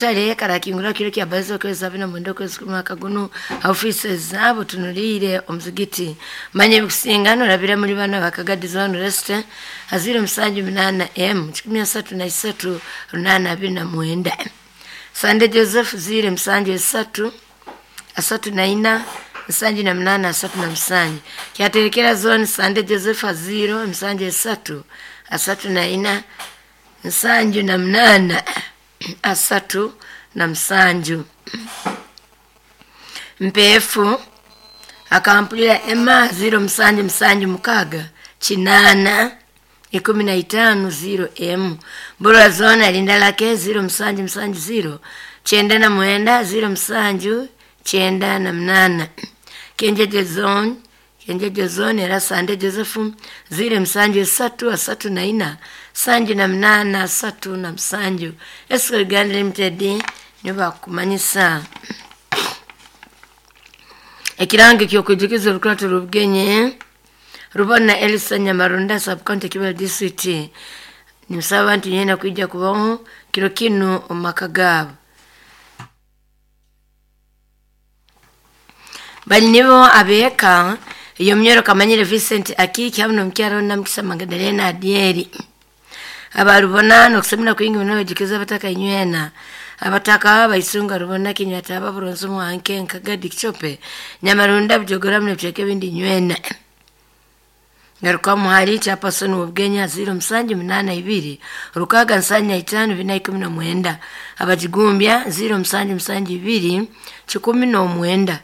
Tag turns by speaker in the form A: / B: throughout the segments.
A: Tale karakingura kiro kya bazo kwezi 79 kwezi mwaka guno offices zabo tunuliire omuzigiti manye bikusingano rabira muri bana bakagadi zone rest aziro musanju 8 m 133 829 Sande Joseph zire musanju 3 34 nsanju na mnana asatu na msanju kyaterekera zone Sande Joseph aziro msanju 3 34 nsanju na mnana asatu na msanju mpefu akampulira ema 0 msanju msanju mukaga chinana 15 0 m burwa zona linda lake 0 msanju msanju 0 99 0 msanju 98 kenjeje zone kenjeje zone era Sande Joseph 0 msanju 3 34 sanju na mnana asatu na msanju Esco Uganda Limited nibo bakumanyisa ekirango ky'okwijukiza orukurato rw'obugenyi rubona Elsa Nyamarunda subcounty Kibale district nimusaba abantu nyena kwija kubaho kiro kinu omu maka gaabo bali nibo abeeka iyo munyoro kamanyire Vincent Akiki hamu n'omukyara Namukisa Magdalena Adieri abarubona nokusemera kwingi muno bajukiza abataka inywena abataka baisunga rubona kinywata ababuronzi mwanke nkagadi kichope Nyamarunda bujogora muno ebicweka ebindi nywena ngaruka muhali chapasoni wobugenya 0 msanju 82 rukaga nsanya 5 419 abajigumbya 0 msanju msanju 2 19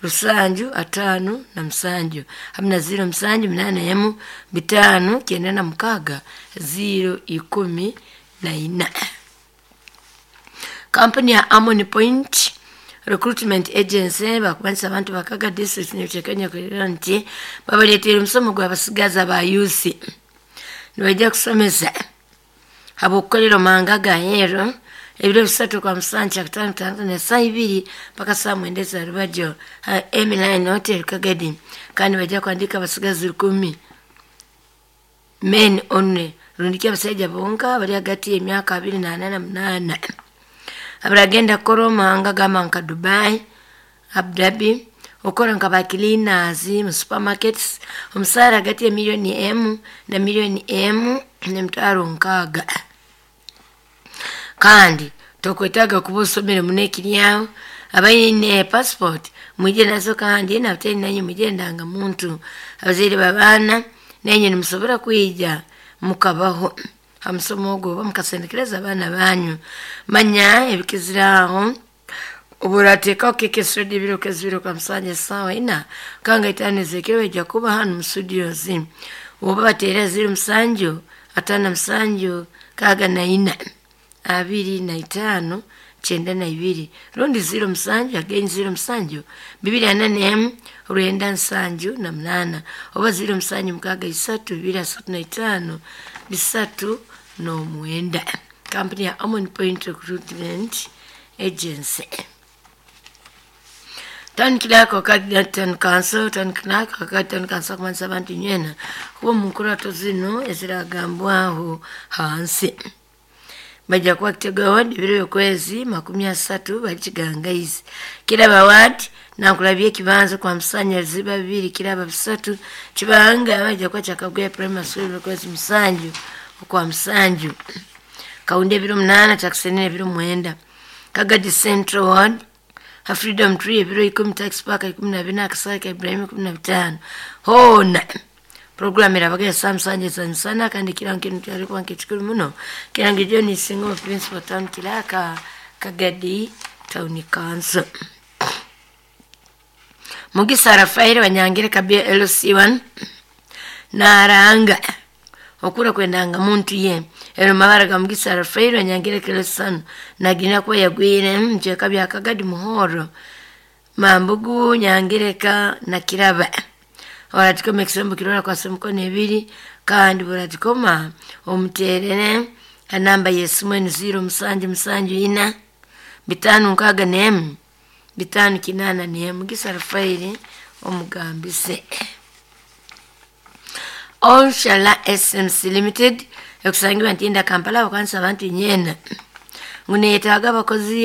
A: rusanju atano na msanju hamna 0 msanju 8 emu 5 96 0 14. Kampani ya Amoni Point Recruitment Agency bakubanisa abantu bakaga district nebicekenya kulira nti babaleetera omusomo gw'abasigazi aba youth nibajja kusomesa habw'okukolera omumahanga gaheeru ebiro bisatu kwa musanju kyakutaano kutandatu n'esaaha ibiri mpaka saa mwenda ezarubajyo ha Emiline Hotel Kagadi kandi bajja kuhandiika abasigazi 10 men only rundiki abasaija bonka bari hagati y'emyaka 24 na 8 abaragenda kukora omumahanga gamba nka Dubai, Abu Dhabi okukora nka ba cleaners mu supermarkets omusaara hagati ya miliyoni 1 na miliyoni 1.6 kandi tokwetaaga kuba osomere muno ekiryaho abaine passport mwije nazo kandi nabataine nanye mwije endangamuntu abazaire babaana nainywe nimusobora kwija mukabaho ha musomo ogwo oba mukasendekereza abaana banyu manya ebikiziraho oburateekaho keke studio ebiro kezibiro kwa musanja esaawa ina kanga itaano ez'ekiro baija kuba hanu mu studios oba bateera 0 musanju 57 64 25 92 rundi 0 musanju again 0 musanju 241 978 oba 0 musanju 6 3 235 309. Kampani ya Amon Point Recruitment Agency. Town Clerk wakati Town Council, Town Clerk wakati Town Council kumanyisa abantu nywena kuba omu nkurato zinu eziragambwaho hansi bajja kuba kitega ward ebiro byokwezi 30 bali kigangaizi kiraba ward nankulabye ekibanza kwa musanya ziba 2 kiraba 3 kibanga bajja kuba kyakagwya primary school byokwezi musanju okwa musanju kaunda ebiro 8 kyakusenene ebiro 9 Kagadi Central Ward ha Freedom Tree ebiro 10 Tax Park 14 akasaka Ibrahim 15 hona program erabaga saa musanje sana kandi kirango kinu kyalikuwa nkekikuru muno kirango John Singo Principal Town Clerk Kagadi Town Council. Mugisa Rafael Banyangire Kabia LC1 naranga okura kwendanga muntu ye ero mabara ga Mugisa Rafael Banyangire Kelesano nagina kuba yagwire mcheka bya Kagadi muhoro Mambugu Nyangireka na Kiraba oratikoma ekisembo kirora kwa semukono ebiri kandi buratikoma omuterere anamba yesimu eni 0 musanju musanju 4 5 6 5 8 Mugisa Rafael omugambise. Onshala SMC Limited ekusangibwa Ntinda Kampala bakanisa abantu nyena Ngu neyetaaga abakozi.